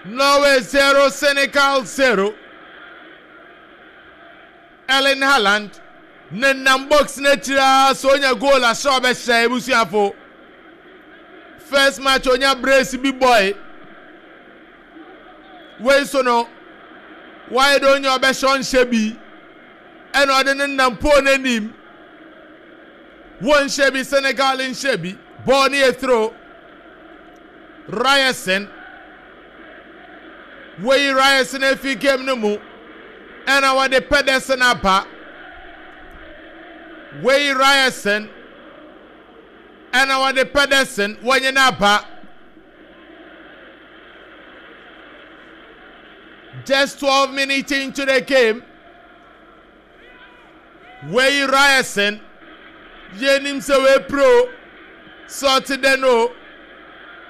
Norway 0, Senegal 0. Erling Haaland nenam box n'akyiri ara sɛ onya goal ahyɛ ɔbɛhyɛ ebusuafo. First match onya brace bi bɔe. Wei so no, wayɛ dɛ onya ɔbɛhyɛ ɔnhyɛ bi. Ɛna ɔde ne nam pole n'anim. Wɔnhyɛ bi, Senegal nhyɛ bi. Bɔɔl no yɛ throw. Ryerson. Woyi Ryerson afi game no mu. Ɛna wɔde Pedersen aba. Woyi Ryerson. Ɛna wɔde Pedersen wɔnye no aba. Just 12 minutes into the game. Wei Ryerson, yɛnim sɛ wapira o, sɛ ɔte dɛn o,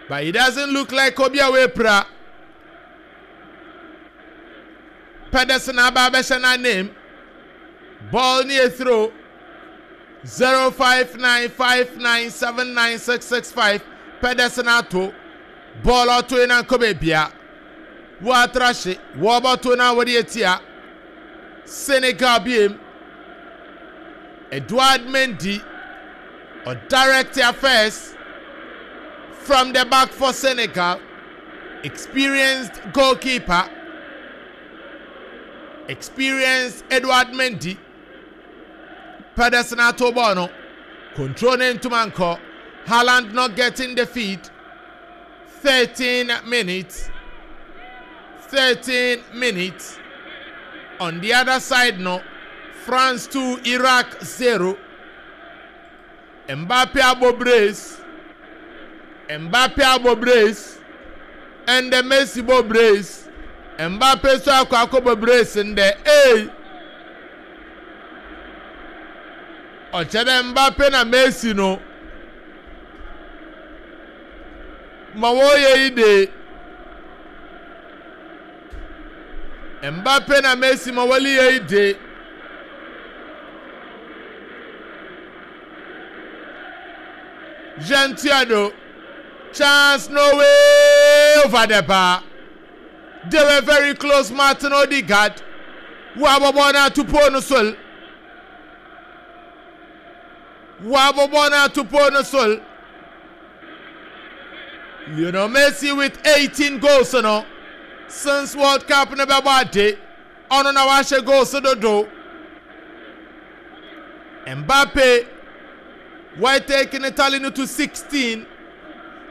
but he doesn't look like obi a wapira. Pedersen aba abɛhyɛ n'anim. Ball ne yɛ throw. 0595979665 Pedersen ato. Ball ɔto yi na nkɔ baabia. Wɔatra hye, wɔbɔto na wɔde atia. Senegal biem. Edouard Mendy ɔdirect affairs from the back for Senegal. Experienced goalkeeper. Experienced Edouard Mendy. Pedersen ato ball no. Control ne ntoma nkɔ. Haaland not getting the feed. 13 minutes. 13 minutes. On the other side no, France 2, Iraq 0. Mbappe abɔ brace. Mbappe abɔ brace. Ɛndɛ Messi bɔ brace. Mbappe nso akɔ akɔbɔ brace ndɛ. Ei! Ɔkyerɛ dɛ Mbappe na Messi no ma wɔreyɛ yi de. Mbappe na Messi ma wɔreyɛ yi de. Jean Tiado, chance no way over the bar. They were very close, Martin Odegaard. Wɔabɔbɔ no ato pole no so. Wɔabɔbɔ no ato pole no so. Lionel Messi with 18 goals no since World Cup no bɛbɔ ade. Ɔno na wahyɛ goals dodo. Mbappe wɔatake ne tally no to 16.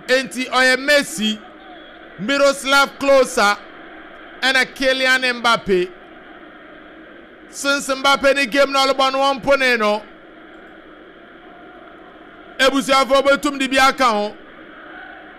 Enti ɔyɛ Messi, Miroslav Klose ɛna Kylian Mbappe. Since Mbappe ne game na ɔlebɔ no wɔmpone no. Ebusuafo obetum de bi aka ho.